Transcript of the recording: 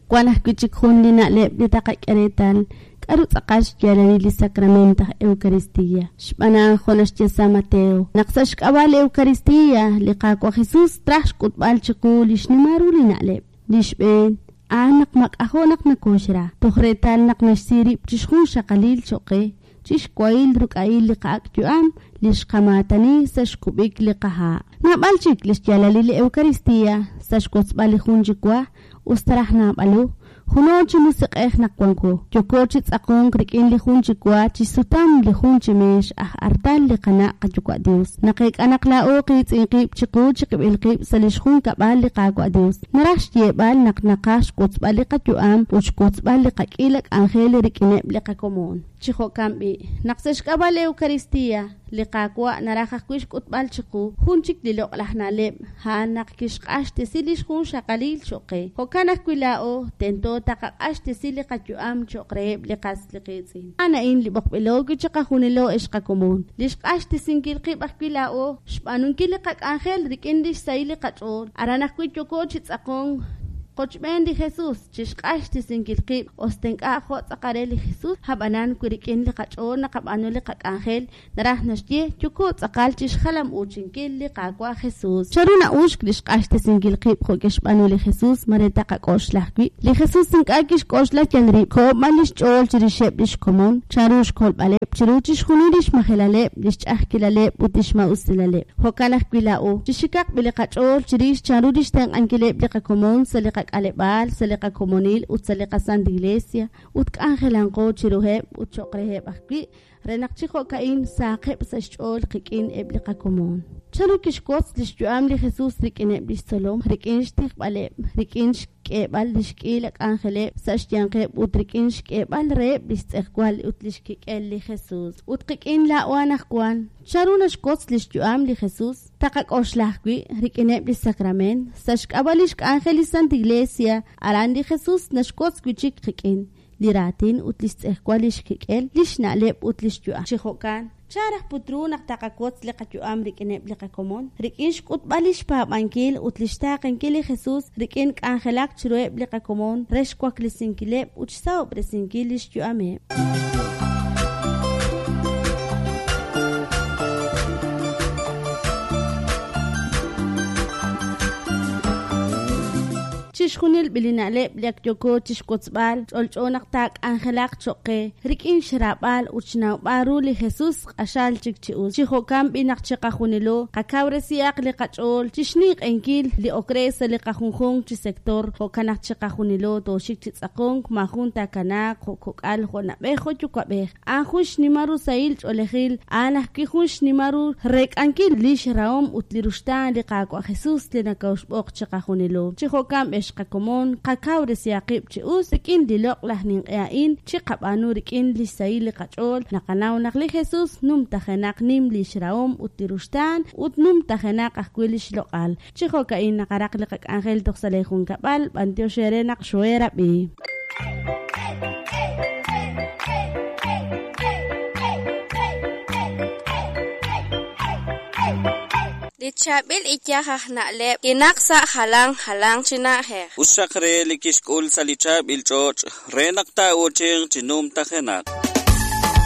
Wan ajwi' chik jun li na'leb' li taqak'e reetal, k'a'ru tz'aqal xyaalalil li sacrament aj Eucaristia. Xb'aan a'an, jo' naxye San Mateo, naq sa' xk'ab'a' li Eucaristia, li Qaawa' Jesus traj xk'utb'al chiqu li xnimal ru li na'leb'. Li xb'een, a'an naq mak'ajo' naq nokoxra, toj reetal naq naxsi rib' chixjunxaqalil choq' qe, chixwahil ruk'a'il li qa'ak' yu'am li xqamaatani sa' xkub'ik li qaha'. Naab'al chik lix yaalalil li Eucaristia sa' xwotzb'al li jun chi wa, us ta raj naab'alo, juno chi musiq'ej naq wanko, yooko chi tz'aqonk rik'in li jun chi wa chixsutam li jun chi meex aj artal li qana' qayuwa' Dios. Naqeek'a naq laa'o qiitz'in qib' chiqu chiqib'il qib' sa' lix junkab'al li Qaawa' Dios. Naraj xyeeb'al naq naqaj xwotzb'al li qayu'am ut xwotzb'al li qak'iila k'anjel rik'ineb' li qakomon. Chi jo'kan b'i', naq sa' xk'ab'a' li Eucaristia, li Qaawa' naraj ajwi' xk'utb'al chiqu jun chik li loq'laj na'leb', a'an naq kixq'axtesi lix junxaqalil choq' qe. Jo'kan ajwi' laa'o, tento taqaq'axtesi li qayu'am choq' reheb' li qas li qiitz'in. A'an a'in li b'oqb'ilo wi' chiqajunilo ex qakomon, li xq'axtesinkil qib' ajwi' laa'o, xb'aanunkil li qak'anjel rik'in lix sahil li qach'ool. Aran ajwi' yooko chi tz'aqonk qochb'een li Jesus, chixq'axtesinkil qib', us ta ink'a' jo' tz'aqal re li Jesus, a'b'anan wi rik'in li qach'ool naqab'aanu li qak'anjel, naraj naxye, yooko tz'aqal chixjalam-uuchinkil li Qaawa' Jesus. Chanru na'uxk li xq'axtesinkil qib' jo' kixb'aanu li Jesus? Mare taqak'oxla ajwi'. Li Jesus ink'a' kixk'oxla yal rib', koho b'an lix ch'ool chirixeb' lix komon, chanru xkolb'aleb' chiru chixjunil lix majelaleb', lix ch'a'ajkilaleb', ut lix maa'usilaleb'. Jo'kan ajwi' laa'o, chixikaq b'i li qach'ool chirix chanru lix tenq'ankileb' li qakomon sa' li qak'aleb'aal, sa' li qakomonil, ut sa' li qaSanta Iglesia, ut k'anjelanqo chiruheb' ut choq' reheb' ajwi', re naq chi jo'ka'in sahaqeb' sa' xch'ool qik'in eb' li qakomon. Chanru kixwotz lix yu'am li Jesus rik'ineb' lix tzolom? Rik'in xtijb'aleb', rik'in xk'eeb'al lix k'iila k'anjeleb' sa' xyanqeb' ut rik'in xk'eeb'al reheb' lix tz'ejwal ut lix kik'el li Jesus. Ut qik'in laa'o anajwan, chanru naxwotz lix yu'am li Jesus? Taqak'oxla ajwi' rik'ineb' li sakrament, sa' xk'ab'a' lix k'anjel li Santa Iglesia, aran li Jesus naxwotz wi'chik qik'in li raatin ut lix tz'ejwal lix kik'el, lix na'leb' ut lix yu'am. Chi jo'kan, chan raj put ru naq taqawotz li qayu'am rik'ineb' li qakomon? Rik'in xk'utb'al lix paab'ankil ut lix taaqenkil li Jesus, rik'in k'anjelak chiruheb' li qakomon re xwaklesinkileb' ut xsahob'resinkil lix yu'ameb'. Chixjunil b'i li na'leb' li ak yooko chixwotzb'al, ch'olch'o naq taak'anjelaq choq' qe rik'in xraab'al ut xnawb'al ru li Jesus q'axal chik chi us. Chi jo'kan b'i naq chiqajunilo qakawresihaq li qach'ool chixninq'ehinkil li ok re sa' li qajunjunq chi sector, jo'kan naq chiqajunilo tooxik chi tz'aqonk, maajun taakanaaq jo' kok'al, jo' na'b'ej, jo' yuwa'b'ej. A'an jun xnimal ru sahil ch'oolejil, a'an ajwi' jun xnimal ru reek'ankil lix rahom ut li ruxtaan li Qaawa' Jesus li nokoxb'oq chiqajunilo. Chi jo'kan ex qakomon, qakawresihaq qib' chi us rik'in li loq'laj ninq'e a'in, chiqab'aanu rik'in lix sahil li qach'ool, naqanaw naq li Jesus numtajenaq nim lix rahom ut li ruxtaan, ut numtajenaq ajwi' lix loq'al. Chi jo'ka'in naqaraq li qak'anjel toj sa' lee junkab'al, b'antiox eere naq xooheerab'i. Li chaab'il iyaj aj na'leb' kinaq sa' jalan jalanq chi na'ajej. Us xaq re li kixk'ul sa' li chaab'il ch'och' re naq taa'uuchinq chi numtajenaq.